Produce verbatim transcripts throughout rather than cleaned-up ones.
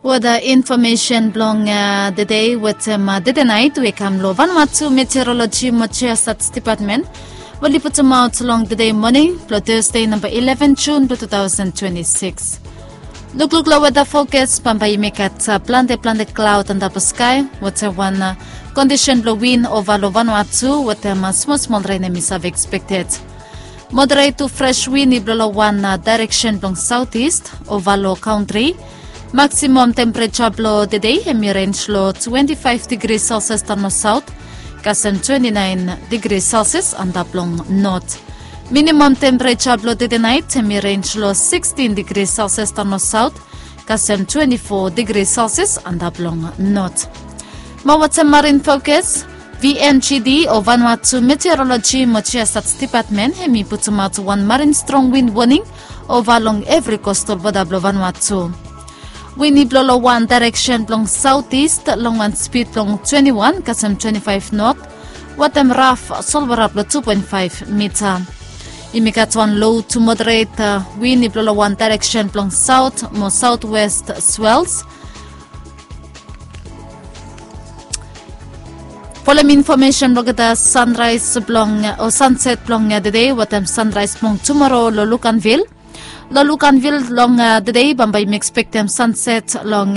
Weda infomesen blong dede wetem dede nait we kam long Vanuatu Meteoroloji mo Geostats Depatmen we oli putumaot long dede moning blong Tasde namba eleven Jun blong two thousand twenty six. Lukluk long weda fokas, bambae yumi gat plante plante klaod antap long skae wetem wan kondisen blong win ova long Vanuatu wetem smol smol ren hemi save ekspekted. Moderet tu fres win i blo long wan daereksen blong saotis ova long kantri. Maksimam tempereja blo dede hemi renj long twenti faef digri selsias daon long saot kasem twenti naen digri selsias antap long not. Minimam tempereja blo dede nait hemi renj long sikstin digri selsias daon long saot kasem twenti fo digri selsias antap long not. Mo wetem marin fokas, V M G D o Vanuatu Meteoroloji mo Geostats Depatmen hemi putumaot wan marin strong win woning ova long evri kostal wota blo Vanuatu. Win i blo long wan daereksen blong saotis long wan spid blong twenti wan kasem twenti faef not wetem raf solwara blo tu poen faef mita. Yumi gat wan lo tu moderet win i blo long wan daereksen blong saot mo saotwes swels. Folem infomesen blong olgeta sanraes blong o sanset blong dede wetem sanraes blong tumoro long Luganville. Long Luganville long dede bambae yumi ekspektem sanset long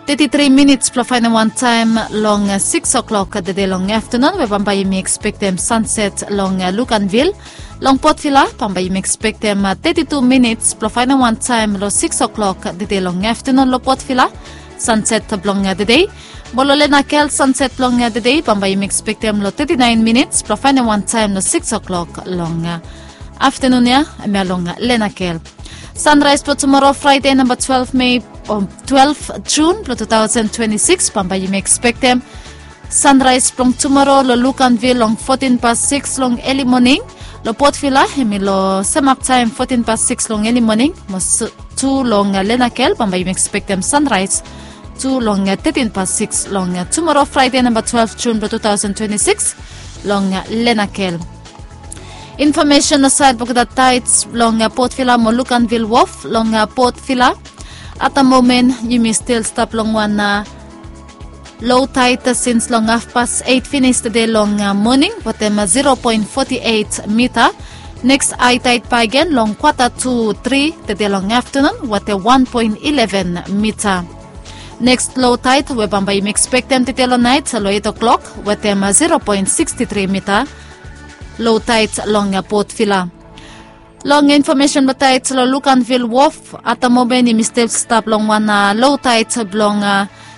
teti tri minits blo faenem wan taem long siks oklok dede long aftanun we bambae yumi ekspektem sanset long Luganville. Long Port Vila bambae yumi ekspektem teti tu minits blo faenem wan taem long siks oklok dede long aftanun long Port Vila. Sanset blong dede. Mo long Lenakel sanset blong dede bambae yumi ekspektem long teti naen minits blo faenem wan taem long siks oklok long aftanun ya, hemia long Lenakel. Sanraes blo tumoro Fraede namba twelef Mei o twelef Jun blo two thousand twenty six bambae yumi ekspektem sanraes blong tumoro long Luganville long fotin pas siks long eli moning. Long Port Vila hemi long sem haf taem fotin pas siks long eli moning mo tu long Lenakel bambae yumi ekspektem sanraes tu long tetin pas siks long tumoro Fraede namba twelef Jun blo two thousand twenty six long Lenakel. Infomesen long saed blong olgeta taets long Port Vila mo Luganville Wof long Port Vila. At the moment yumi stil stap long wan lo taet sins long hafpas eit finis tede long moning wetem zero poen foti eit mita. Neks hae taet bakegen long kwata tu tri tede long aftanun wetem wan poen ileven mita. Neks lo taet we bambae yumi ekspektem tede long naet long eit oklok wetem zero poen siksti tri mita. Lo taet long Port Vila. Long infomesen blong taet long Luganville Wof, at the moment yumi stil stap long wan lo taet blong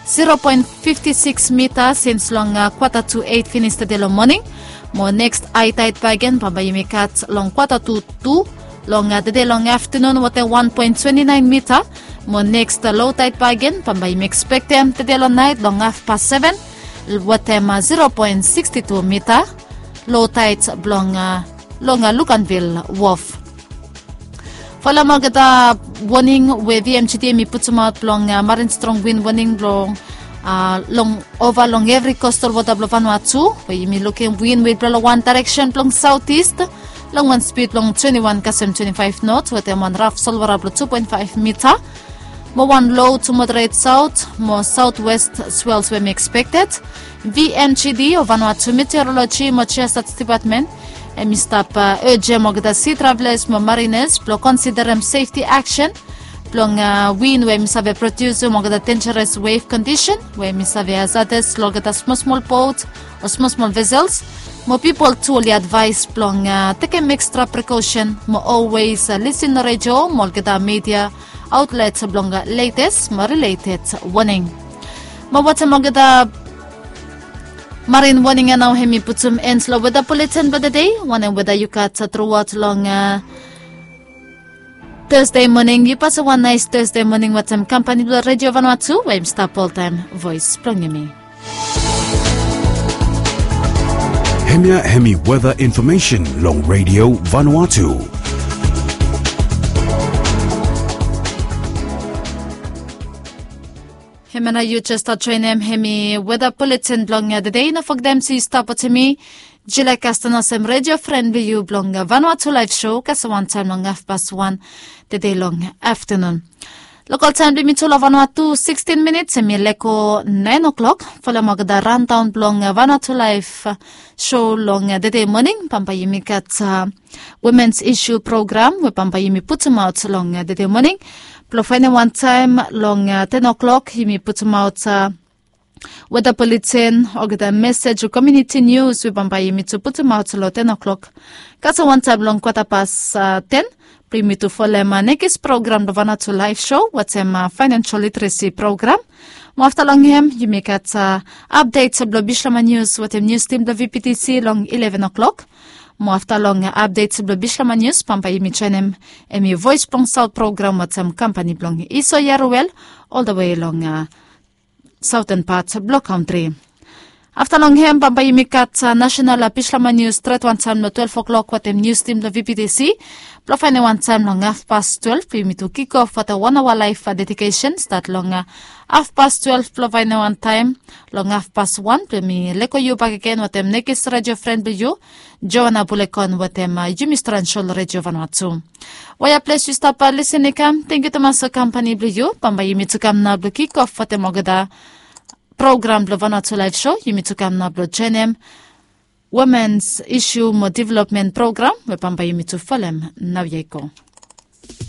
zero poen fifti siks mita sins long kwata tu eit finis tede long moning. Mo neks hae taet bakegen bambae yumi gat long kwata tu tu long tede long aftanun wetem wan poen twenti naen mita. Mo neks lo taet bakegen bambae yumi ekspektem tede long naet long hafpas seven wetem zero poen siksti tu mita. Lo taet blong long Luganville Wof. Folem olgeta woning we V M G D hemi putumaot blong marin strong win woning blong long ova long evri kostal wota blong Vanuatu we yumi lukim win we i blo long wan daereksen blong saotis long wan spid blong twenti wan kasem twenti faef not wetem wan raf solwara blong tu poen faef mita. Mo wan lo tu moderet saot mo saotwes swels we hemi ekspekted. V M G D o Vanuatu Meteoroloji mo Geostats Depatmen hemi stap ejem olgeta si travelas mo marinas blong konsiderem sefti aksen blong win we hemi save prodiusum olgeta denjaras wef kondisen we hemi save hazadas long olgeta smol smol bot o smol smol vesels. Mo pipol tu oli advaes blong tekem ekstra prekosen mo olwes lisin long redio mo olgeta midia aotlet blong letes mo rileted woning. Mo wetem olgeta marin woning ya nao hemi putum en long weda buletin blong tede. Wanem weda yu gat truaot long Tasde moning? Yu pasem wan naes Tasde moning wetem kampani blong Redio Vanuatu we hemi stap oltaem voes blong yumi. Hemia hemi weda infomesen long Redio Vanuatu. Hemia nao yu jes stap joenem hemi weda buletin blong tede. No fogetem se yu stap wetem mi Jila Kaston olsem redio fren blong yu blong Vanuatu Laef Sou kasem wantaem long hafpas wan tede long aftanun. Lokal taem blong yumi tu long Vanuatu, sixteen minits, em i leko nine o'clock. Folem olgeta rundown blong Vanuatu Live show long dede moning. Bambae yumi gat Women's Issue program we bambae yumi putumaot long dede moning. Blong faenem wan taem long ten o'clock yumi putumaot weta buletin, olgeta mesej o komuniti nius we bambae yumi tu putumaot long ten o'clock. Kasem wan taem long kwata pas ten blong yumi tu folem nekis program blong Vanuatu Live show wetem financial literacy program. Mo afta long hem yumi gat apdet blong Bislama Nius wetem nius tim blong V P T C long eleven o'clock. Mo afta long apdet blong Bislama Nius bambae yumi joenem em i Voes blong Saot program wetem kampani blong Iso Yaruel oldawe long saoten pat blong kantri. Afta long hem bambae yumi gat nasenal Bislama Nius stret wan taem long twelve o'clock wetem nius tim blong V P T C. Blong faenem wan taem long hafpas twelve blong yumi tu kikof wetem wan aoa laef dedikesen stat long hafpas twelve blong faenem wan taem long hafpas wan blong yumi leko yu bakegen wetem nekis redio fren blong yu, Joana Bulekon wetem yumi stransol redio Vanuatu. Waya ples yu stap lisin i kam, tangkiu tumas long kampani blong yu. Bambae yumi tu kam nao blong kikof wetem olgeta program blong Vanuatu Live show. Yumi tu kam nao blong joenem Women's Issue mo Development program we bambae yumi tu folem naoia i go.